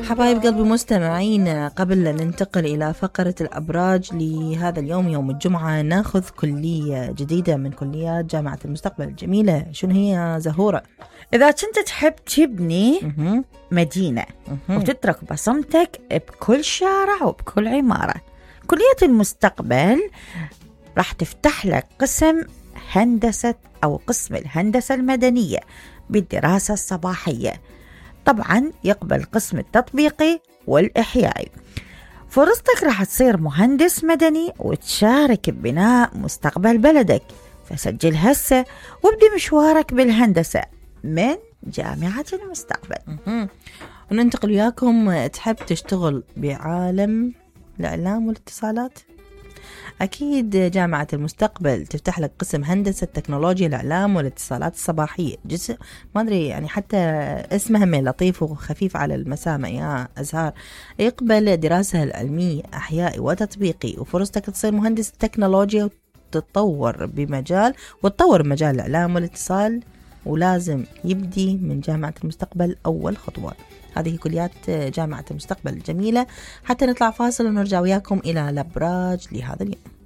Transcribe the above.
حبايب قلبي مستمعين، قبل أن ننتقل إلى فقرة الأبراج لهذا اليوم يوم الجمعة، ناخذ كلية جديدة من كليات جامعة المستقبل الجميلة. شنو هي زهورة؟ إذا كنت تحب تبني مدينة وتترك بصمتك بكل شارع وبكل عمارة، كلية المستقبل راح تفتح لك قسم هندسة أو قسم الهندسة المدنية بالدراسة الصباحية. طبعا يقبل قسم التطبيقي والإحيائي. فرصتك راح تصير مهندس مدني وتشارك ببناء مستقبل بلدك. فسجل هسه وابدي مشوارك بالهندسة من جامعة المستقبل. وننتقل وياكم. تحب تشتغل بعالم الإعلام والاتصالات؟ أكيد جامعة المستقبل تفتح لك قسم هندسة تكنولوجيا الإعلام والاتصالات الصباحية. جزء ما أدري يعني حتى اسمها من لطيف وخفيف على المسامع يا أزهار. يقبل دراسة العلمية أحيائي وتطبيقي، وفرصتك تصير مهندس تكنولوجيا وتطور بمجال الإعلام والاتصال، ولازم يبدي من جامعة المستقبل أول خطوة. هذه كليات جامعة المستقبل الجميلة. حتى نطلع فاصل ونرجع وياكم إلى الأبراج لهذا اليوم.